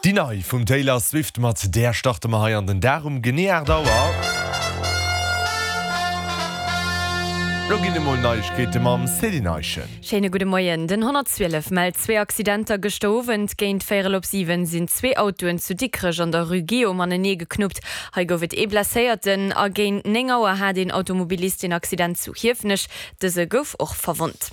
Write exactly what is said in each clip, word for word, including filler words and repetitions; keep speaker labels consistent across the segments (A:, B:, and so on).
A: Déi nei vum Taylor Swift, mat där starte mer hei an den Dag um genee aacht Auer. Lo ginn emol Neiegkeete mam Céline Eischen.
B: Schéine gudde Moien. Den honnertzwielef mellt zwee Accidenter gëschter Owend. Géint véierel op siwen sinn zwee Autoen zu Dikrech an der Rue Guillaume anenee geknuppt. Hei gouf et ee Blesséierten. A géint néng Auer hat een Automobilist een Accident zu Hiefenech. Dëse gouf och verwonnt.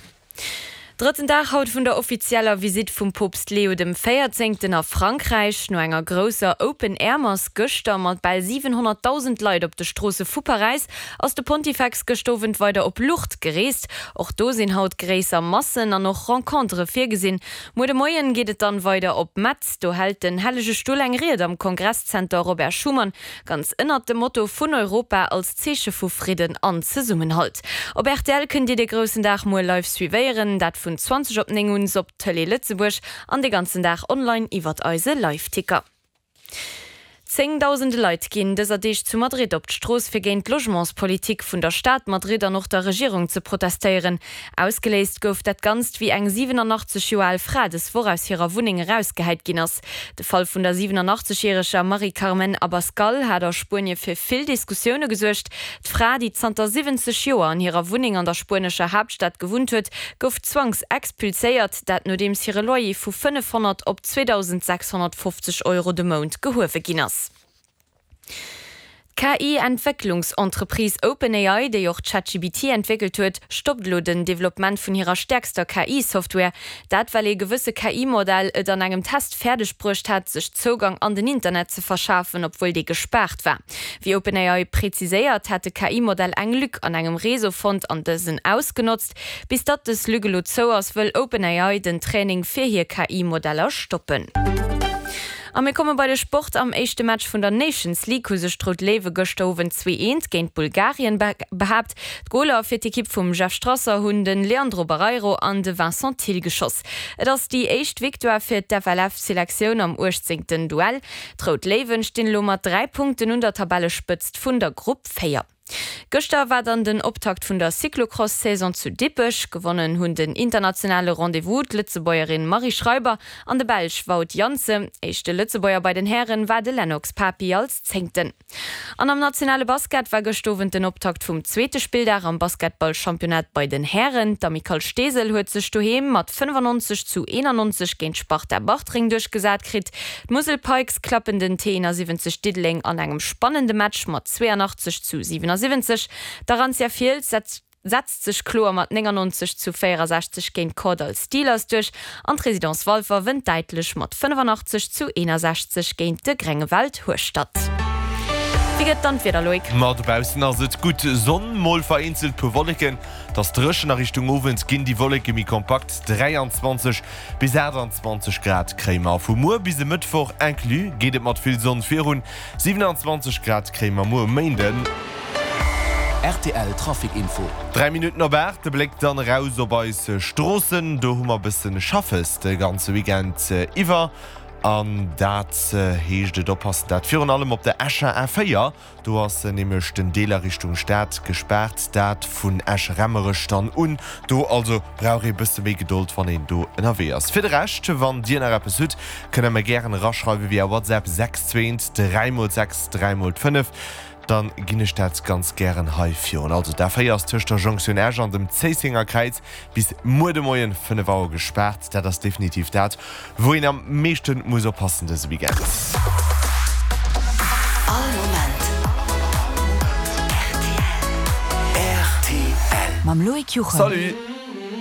B: Drëtten Dag haut vun der offizieller Visitt vum Poopst Leo dem Véierzéngten a Frankräich. No enger grousser Open-Air-Mass gëschter mat bal siwenhonnertdausend Leit op de Stroosse vu Paräis ass de Pontifex gëscht Owend weider op Lourdes gereest. Och do sinn haut gréisser Massen an och Rencontere virgesinn. Muer de Moien geet et dann weider op Metz. Do hält den Hellege Stull eng Ried am Kongresszenter Robert Schuman, ganz ënnert dem Motto vun Europa als Zeeche vu Fridden an Zesummenhalt. Op rtl kënnt Dir dee groussen Dag muer live suivéieren, dat vun zwanzeg op néng un op Tëlee Lëtzebuerg an de ganzen Dag online iwwert eise Liveticker. Zéngdausende Leit ginn dëser Deeg zu Madrid op d'Strooss fir géint d'Logementspolitik vun der Stad Madrid an och der Regierung ze protestéieren. Ausgeléist gouf dat Ganzt wéi eng siwenanachtzeg Joer al Fra des Woch aus hirer Wunneng erausgehäit ginn ass. De Fall vun der siwenanachtzeg järeger Mari Carmen Abascal hat a Spuenie fir vill Diskussioune gesuergt. D'Fra, déi zanter siwwenzeg Joer an hirer Wunneng an der spuenescher Haaptstad gewunnt huet, gouf zwangsexpulséiert, dat nodeems hire Loyer vu fënnefhonnert op zweedausendsechshonnertfofzeg Euro de Mount gehuewe ginn ass. D'K I-Entwécklungsentreprise OpenAI, déi och ChatGPT entwéckelt huet, stoppt elo den Developpement vun hirer stäerkster K I-Software. Dat well ee gewësse K I-Modell et an engem Test fäerdeg bruecht hat, sech Zougang an den Internet ze verschafen, obwuel dee gespaart war. Wéi OpenAI preziséiert, hätt de K I-Modell eng Lück an engem Réseau fonnt an dësen ausgenotzt. Bis datt dës Lück elo zou ass, wëll OpenAI den Training fir hir K I-Modeller stoppen. A mir komme bei de Sport. Am éischte Match vun der Nations League hu sech d'Rout Léiwe gëschter Owend zwee eent géint Bulgarien behaapt. D'Goler fir d'Ekipp vum Jeff Strasser hunn de Leandro Barreiro an de Vincent Thill geschoss. Et ass déi éischt Victoire fir d'F L F-Selektioun am uechtzéngten Duell. D'Rout Léiwen stinn elo mat dräi Punkten un der Tabellespëtzt vun der Grupp véier. Gëschter war dann den Optakt vun der Cyclocross-Saison zu Dippech. Gewonnen hunn den internationale Rendez-vous d'Lëtzebuergerin Marie Schreiber an de Belsch Wout Janssen. Éischte Lëtzebuerger bei den Hären war de Lennox Papi als Zéngten. An am nationale Basket war gëscht Owend den Optakt vum zweete Spilldag am Basketball-Championnat bei den Hären. D'Amicale Steesel huet sech doheem mat fënnefannonzeg zu eenannonzeg géint d'Sparta Bartreng duerchgesat kritt. D'Musel Pikes klappen den T eenasiwwenzeg Diddeleng an engem spannende Match mat zweeanachtzeg zu siwenasiwwenzeg. D'Arantia Fiels setzt sech kloer mat néngannonzeg zu véierasechzeg géint d'Kordall Steelers duerch an d'Résidence Walfer wënnt däitlech mat fënnefannachtzeg zu eenasechzeg géint de Grengewald Hueschtert. Wéi gëtt dann d'Wieder, Loïc?
A: Ma dobaussen ass et gutt Sonn, mol vereenzelt puer Wolleken. Et ass dréchen, a Richtung Owend ginn déi Wolleke méi kompakt. dräianzwanzeg bis aachtanzwanzeg Grad kréie mer. Vu muer bis e Mëttwoch inclus geet et mat vill Sonn virun, siwenanzwanzeg Grad kréie mer muer um Méinden.
C: Rtl Trafic Info.
A: Dräi Minutten op aacht, de Bléck dann eraus op eis Stroossen. Do hu mer e bëssen Schaffes de ganze Weekend iwwer. An dat heescht et oppassen, dat virun allem op der Escher A véier. Do ass nämlech den Deel a Richtung Stad gespaart, dat vun Esch-Remmerech dann un. Do also brauch ee bësse méi Gedold, wann een do ënnerwee ass. Fir de Rescht, wann Dir nach eppes hutt, kënnt Der mir gären eraschreiwe via WhatsApp sechs zwee eent dräi mol sechs dräi mol fënnef. Dann ginn ech dat ganz gären hei virun. Also d'A véier ass tëscht der Jonktioun Esch an dem Zéissenger Kräiz bis muer de Moien fënnef Auer gespaart. Dat ass definitiv dat, wou een am meeschten muss oppassen dëse Weekend.
D: All Moment rtl.
E: Mam Loïc Juchem.
A: Salut!